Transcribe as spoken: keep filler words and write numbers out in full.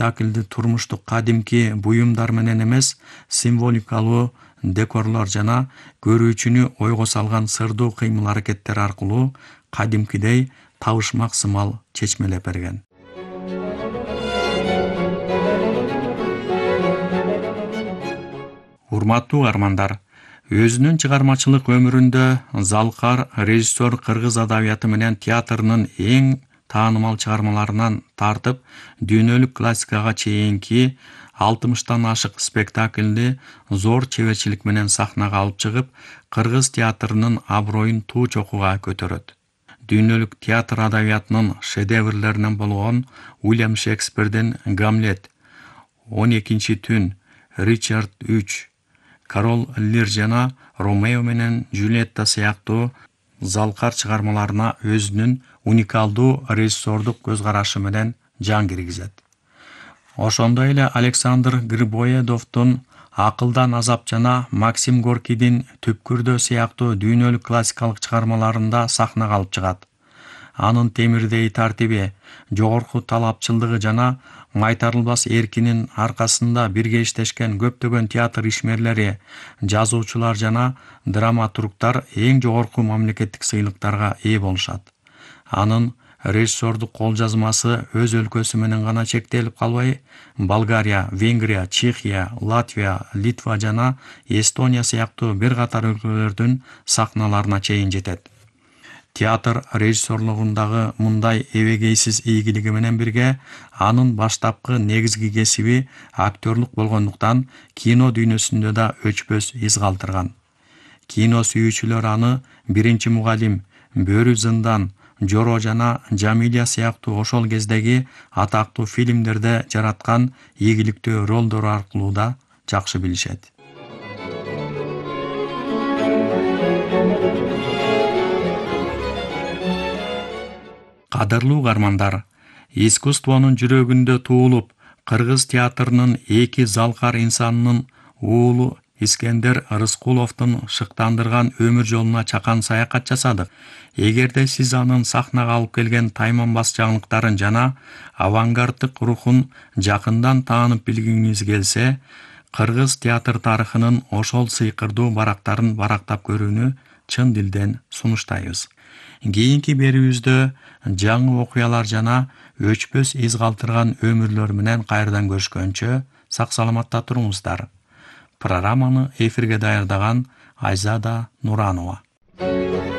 спектакльди турмуштук кадимки буюмдар менен эмес, символикалуу декорлор жана көрүүчүнү ойго салган сырдуу кыймыл-аракеттер аркылуу кадимкидей табышмак сымал чечмелеп берген. Урматтуу угармандар, өзүнүн чыгармачылык өмүрүндө Залкар режиссер кыргыз адабияты менен театрынын эң таанымал чыгармаларынан тартып, дүйнөлүк классикага чейинки алтымыштан ашык спектакльди зор чеберчилик менен сахнага алып чыгып, кыргыз театрынын аброюн туу чокуга көтөрөт. Дүйнөлүк театр адабиятынын шедеврлеринен болгон Уильям Шекспирдин Гамлет, он экинчи түн, Ричард үч, Король Лир жана Ромео менен Джульетта сыяктуу Залкар чыгармаларына өзүнүн уникалдуу режиссердук көз карашы менен жан киргизет. Ошондой эле Александр Грибоедовдун Акылдан азап жана Максим Горкийдин Түпкүрдө сыяктуу дүйнөлүк классикалык чыгармаларында сахнага алып чыгат. Анын темирдей тартиби, жогорку талапчылдыгы жана майтарылбас эркинин аркасында бирге иштешкен көптөгөн театр ишмерлери, жазуучулар жана драматургдар эң жогорку мамлекеттик сыйлыктарга ээ болушат. Анын режиссердук кол жазмасы өз өлкөсү менен гана чектелип калбай, Болгария, Венгрия, Чехия, Латвия, Литва жана Эстония сыяктуу бир катар өлкөлөрдүн сахналарына чейин жетет. Театр режиссерлугундагы мындай эбегейсиз ийгилиги менен бирге, анын баштапкы негизги кесиби актерлук болгондуктан кино дүйнөсүндө да өчпөс из калтырган. Кино сүйүүчүлөр аны Биринчи мугалим, Бөрү зындан, Жоро жана Жамилия сыяктуу ошол кездеги атактуу фильмдерде жараткан ийгиликтүү ролдору аркылуу да жакшы билишет. Кадырлуу угармандар, искусствонун жүрөгүндө туулуп, кыргыз театрынын эки залкар инсанынын уулу Искендер Рыскуловдун шыктандырган өмүр жолуна чакан саякат жасадык. Эгерде сиз анын сахнага алып келген тайманбас жаңылыктарын жана авангарддык рухун жакындан таанып билгиңиз келсе, кыргыз театр тарыхынын ошол сыйкырдуу барактарын барактап көрүүнү чын дилден сунуштайбыз. Кийинки берүүбүздө жаңы окуялар жана өчпөс из калтырган өмүрлөр менен кайрадан көрүшкөнчө сак саламатта туруңуздар. Программаны эфирге даярдаган Айзада Нуранова.